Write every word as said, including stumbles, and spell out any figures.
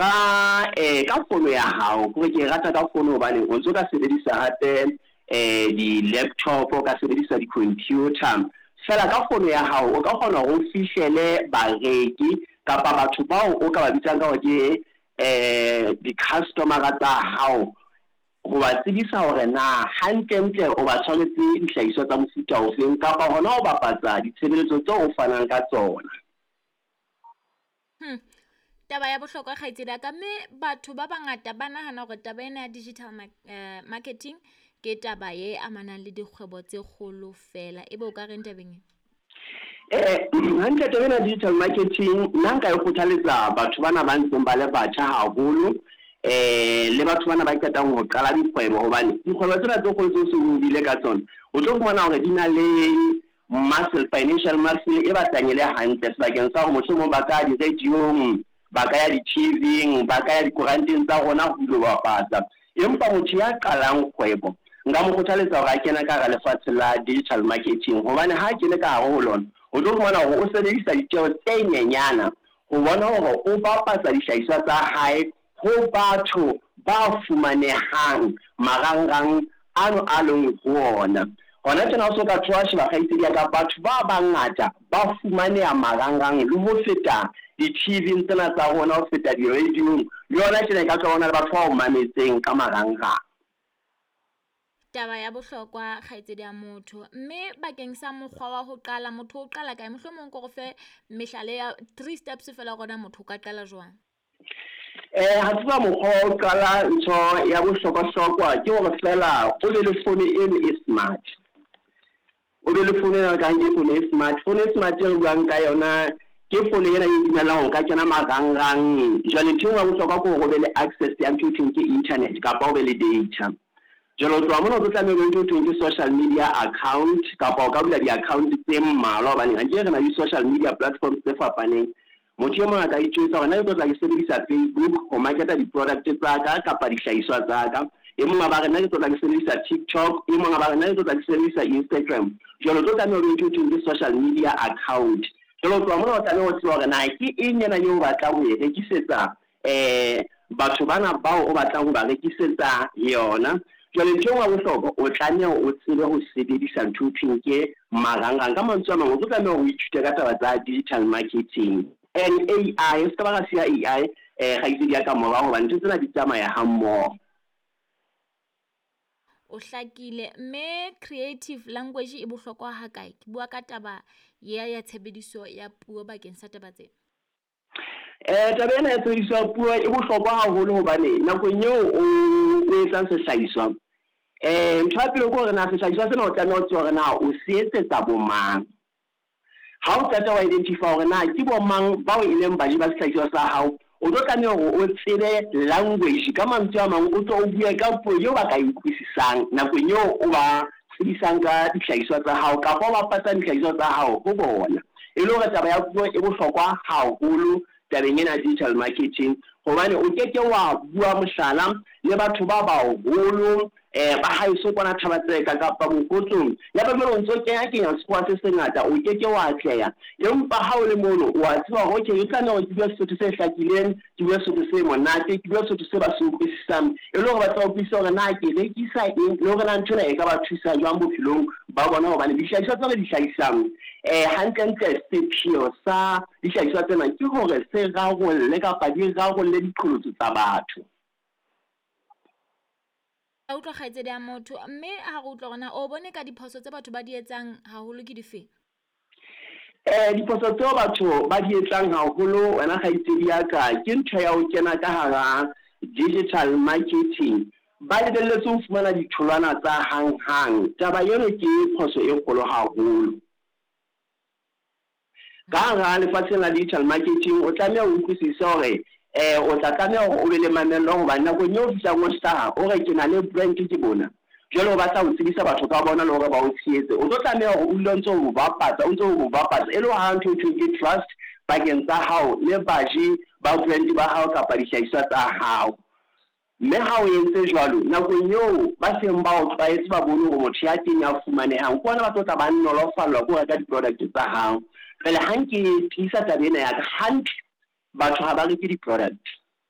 Ka eh ka fono ya hao, kore ke e rata ka fono hobane o ntso ka sebedisa hape eh di-laptop, o ka sebedisa di-computer. Feela ka fono ya hao o ka kgona hore o fihlele bareki kapa batho bao o ka ba bitsang ka hore ke eh di-customer-a tsa hao, ho ba tsebisa hore na hantlentle o ba tshwanetse dihlahiswa tsa mofuta ofeng kapa hona ho bapatsa ditshebeletso tseo o fanang ka tsona. Hmm. Taba ya bohlokwa kgaitsedi ya ka, mme batho ba bangata ba nahana hore taba ena ya digital eh, marketing ke taba e amanang le dikgwebo tse kgolo fela. Ebe o ka reng tabeng e? Eh hantle taba ena ya digital marketing nna nka e kgothaletsa batho bana ba ntseng ba le batjha haholo, eh le batho bana ba qetang ho qala dikgwebo, hobane dikgwebo tsena tse kgolo tseo seng o bile ka tsona, o tlo fumana hore di na le muscle, financial muscle e batlang e le hantle sebakeng sa hore mohlomong ba ka di-radio-ong, ba ka ya di-T V-ing, ba ka ya dikoranteng tsa rona ho ilo bapatsa. Empa motho ya qalang kgwebo nka mo kgothaletsa hore a kene ka hara lefatshe la digital marketing, hobane ha a kene ka hare ho lona, o tlo fumana hore o sebedisa ditjeho tse nyenyana ho bona hore o bapatsa dihlahiswa tsa hae ho batho ba fumanehang marangrang ano a leng ho ona. Hona tjena o so ka thola sheba, kgaitsedi ya ka, batho ba bangata ba fumaneha marangrang le ho feta di-T V tsena tsa rona, ho feta di-radio-ong. Le yona tjena e ka tswa hona le batho ba o mametseng ka marangrang. Taba ya bohlokwa, kgaitsedi ya motho. Mme bakeng sa mokgwa wa ho qala, motho o qala kae? Mohlomong ko re fe mehlala ya three steps fela hore na motho o ka qala jwang. Eh ha tseba mokgwa wa ho qala, ntho ya bohlokwa-hlokwa ke hore feela o be le phone eno e smart. O be le phone ena ka ke phone e smart. Phone e smart e re buang ka yona ke phone ena e dumellang ho ka kena marangrang. Jwale ntho e nngwe ya bohlokwa ke hore o be le access ya ntho e thweng ke internet kapa o be le data. Jwale ho tloha mona o tlo tlameha o be ntho e thweng ke social media account, kapa o ka bula di-account tse mmalwa, hobane akere re na le social media platforms tse fapaneng. Motho e mong a ka itjwetsa hore nna ke tlo tla ke sebedisa Facebook ho market-a di-product tsa ka kapa dihlahiswa tsa ka. E mong a ba re nna ke tlo tla ke sebedisa TikTok, e mong a ba re nna ke tlo tla ke sebedisa Instagram. Jwale o tlo tlameha o be ntho e thweng ke social media account. Jwale ho tloha mona o tlameha ho tseba hore na ke eng ena eo o batlang ho e rekisetsa eh batho bana bao o batlang ho ba rekisetsa yona. Jwale ntho e nngwe ya bohlokwa, o tlameha o tsebe ho sebedisa ntho e thweng ke marangrang. Ka mantswe a mang, o tlo tlameha hore o ithute ka taba tsa digital marketing and A I. O ska ba ra siya A I, eh kgaitsedi ya ka, morao, hobane ntho tsena di tsamaya ha mmoho. O hlakile. Mme creative language e bohlokwa ha kae? Ke bua ka taba ya ya tshebediso ya puo bakeng sa taba tsena. Eh taba ena ya tshebediso ya puo e bohlokwa haholo, hobane nakong eo o o etsang sehlahiswa, eh ntho ya pele ke hore na sehlahiswa sena o tlameha ho tseba hore na o se etsetsa bo mang. Ha o qeta wa identify hore na ke bo mang bao e leng baji ba sehlahiswa sa hao, o tlo tlameha hore o tsebe language. Ka mantswe a mang, o tlo o bue ka puo eo ba ka e utlwisisang nakong eo o ba tsebisang ka dihlahiswa tsa hao kapa o bapatsang dihlahiswa tsa hao ho bona. E le hore taba ya puo e bohlokwa haholo tabeng ena ya digital marketing, hobane o keke wa bua, mohlala, le batho ba baholo eh ba haeso kwana Thaba-Tseka kapa Mokotlong, ya ba jwale o ntso kenya kenya sekgowa se sengata, o keke wa atleha. Empa ha o le mono, o a tseba hore okay, e tlameha hore ke bue Sesotho se hlakileng, ke bue Sesotho se monate, ke bue Sesotho se ba se utlwisisang, e le hore ba tla utlwisisa hore na ke rekisa eng le hore na ntho ena e ka ba thusa jwang bophelong ba bona, hobane dihlahiswa tse re di hlahisang, eh hantlentle sepheo sa dihlahiswa tsena ke hore se rarolle kapa di rarolle diqholotso tsa batho. A utlwa, kgaitsedi ya motho. Mme ha re utlwa hore na o bone ka diphoso tse batho ba di etsang haholo ke difeng? Eh diphoso tseo batho ba di etsang haholo, wena kgaitsedi ya ka, ke ntho ya ho kena ka hara digital marketing ba lebelletse ho fumana ditholwana tsa hang-hang. Taba eno ke phoso e kgolo haholo. Ka hara lefatsheng la digital marketing o tlameha o utlwisise hore eh o tla tlameha hore o be le mamello, hobane nakong eo o fihlang o hlaha o re ke na le brand, ke bona jwale o batla ho tsebisa batho ka bona le hore ba o tshehetse, o tlo tlameha hore o dule o ntso o bapatsa, o ntso o bapatsa, e le ha ntho e thweng ke trust pakeng tsa hao le baji ba brand ba hao kapa dihlahiswa tsa hao. Mme ha o entse jwalo, nakong eo ba seng ba o tlwaetse, ba bone hore motho ya teng ya fumanehang ke ona, ba tlo tla ba nolofallwa ke ho reka di-product tsa hao. Jwale ha nke tiisa taba ena ya ka hantle, batho ha ba reke di-product.